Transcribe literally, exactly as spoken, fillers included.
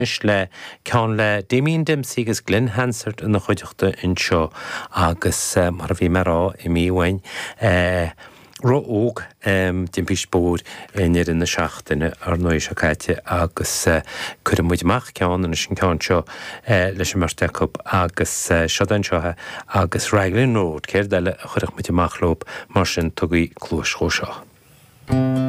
Le ceann le Damien Dempsey agus Glen Hansard ina chuideachta anseo agus mar a bhí mé ag rá imithe uainn ró-óg timpiste bóthair i ndeireadh na seachtaine ar ndóigh seo caite agus cuireann muid amach ceann anois an ceann seo leis an mbeirt acu agus seo anseo agus Raglan Road céard eile a chuirfeadh muid amach leo mar sin tugaigí cluas dhó seo.